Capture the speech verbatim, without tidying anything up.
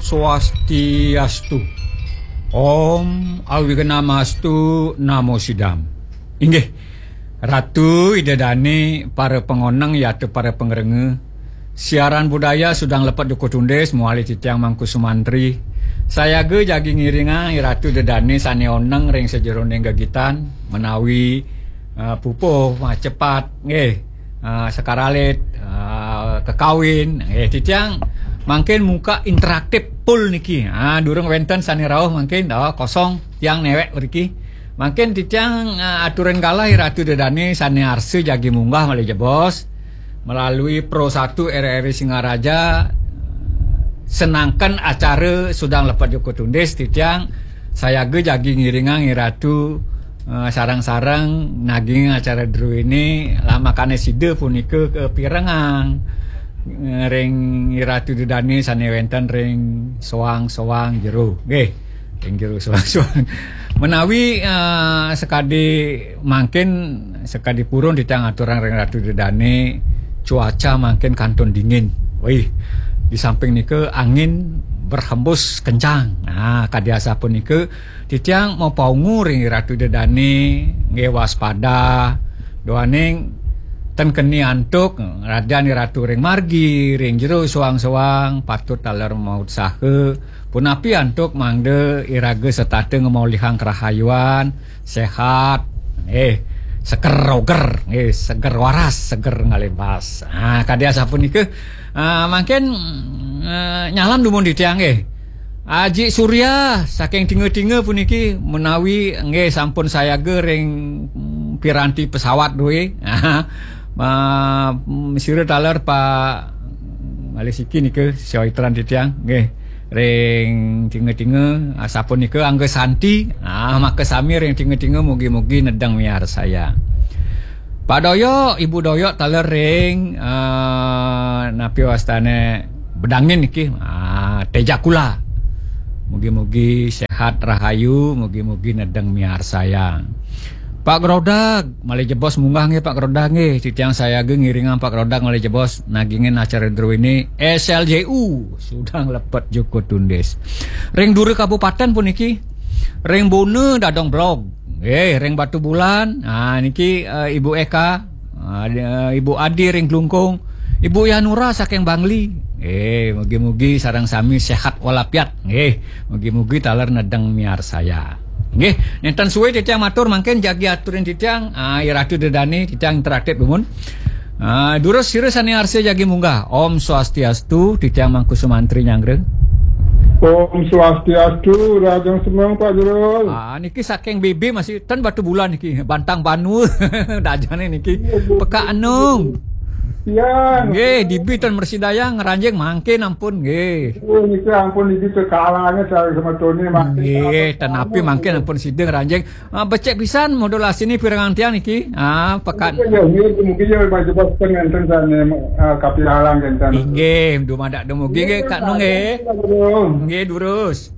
Swastiastu. Om Awignamastu Namo Sidam. Inggih, Ratu Ida Dane, para pangoneng yata para pangrengga. Siaran budaya Sudang Lepet Joko Tundis, mawali titiang Mangku Sumantri. Sayaga jagi ngiringang Ratu Ida Dane sane oneng ring sajeroning gegitan, menawi, eh, pupuh, macepat, nggih, eh, sekar alit, eh, kekawin, nggih, titiang mangkin muka interaktif full niki. Ah, durung wenten sane rauh mangkin, oh, kosong, tiang newek mriki. Mangkin titiang, eh, aturin galah Ratu Ida Dane sane arsa jagi munggah malih jebos melalui Pro Satu R R I Singaraja, senangken acara Sudang Lepet Joko Tundis, titiang sayaga jagi ngiringang Ratu, eh, sareng-sareng naging acara druene, lamakane sida punika kapirengang, eh, ring Ratu Ida Dane sane wenten ring soang-soang jero. Nggih, ring jero soang-soang. Menawi, eh, sakadi mangkin, sakadi purun titiang aturang ring Ratu Ida Dane, cuaca mangkin kantun dingin. Wih, di samping nika angin berhembus kencang. Nah, kadi asapunika titiang mapaungu ring Ratu Ida Dane, nggih, waspada, duaning ten keni antuk, rajan Ratu ring margi, ring jero soang-soang, patut taler mautsaha, punapi antuk mangda iraga setata ngamolihang karahayuan, sehat, eh, seger roger, eh, seger waras, seger ngalih bas. Ah, kadi asapunika, ah, mangkin, eh, nyalam dumun titiang, eh. Aji Surya saking Tinga-Tinga puniki menawi nggih sampun sayaga ring, mm, piranti pesawat duwe. Ah, mm, sira taler Pak malih siki nika, sioitran titiang, nggih. Ring Tinga-Tinga, ah, sapunika Angga Santi, ah, makasami ring Tinga-Tinga, mugi-mugi nedeng miarsayang. Pak Doyok, Ibu Doyok taler ring, eh, napi wastane Bedangin niki, ah, Tejakula. Mugi-mugi sehat rahayu, mugi-mugi nedeng miarsayang. Pak Grodag, malih jebos munggah nggih Pak Grodag nggih. Titiang sayaga ngiringang Pak Grodag malih jebos nagingin acara druene S L J U, Sudang Lepet Joko Tundis. Ring dura kabupaten puniki, ring Bona Dadong Blog, nggih, ring Batubulan. Ah, niki, eh, Ibu Eka, ah, di-, eh, Ibu Adi ring Klungkung, Ibu Yanura saking Bangli. Nggih, mugi-mugi sareng sami sehat walafiat. Nggih, mugi-mugi taler nedeng miarsayang. Nggih, nenten suwe titiang matur mangkin jagi aturin titiang, ah, Ratu Ida Dane, titiang interaktif dumun. Ah, durus sira sane arsa jagi munggah. Om Swastiastu, titiang Mangku Sumantri nyanggra. Om Swastiastu, Rajan Semeng, Pak Jero. Ah, niki saking B B masih ten Batubulan niki, Bantang Banua, dajane niki. Pekak Enung. Ya. Nggih, dibi ten mresidayang ngranjing mangkin ampun nggih. Oh, niki ampun, niki kekalange sareng semetone mangkin. Nggih, ten napi mangkin ampun sida ngranjing. Ah, becik pisan modulasine pirengang tiang niki. Ah, pekat. Mungkin ya, mungkin, mungkin ya, Pak Jebos pun ngenten sane, eh, kapialang ngenten. Inggih, dumadak dumugi nggih, Kak Nung nggih. Nggih, durus.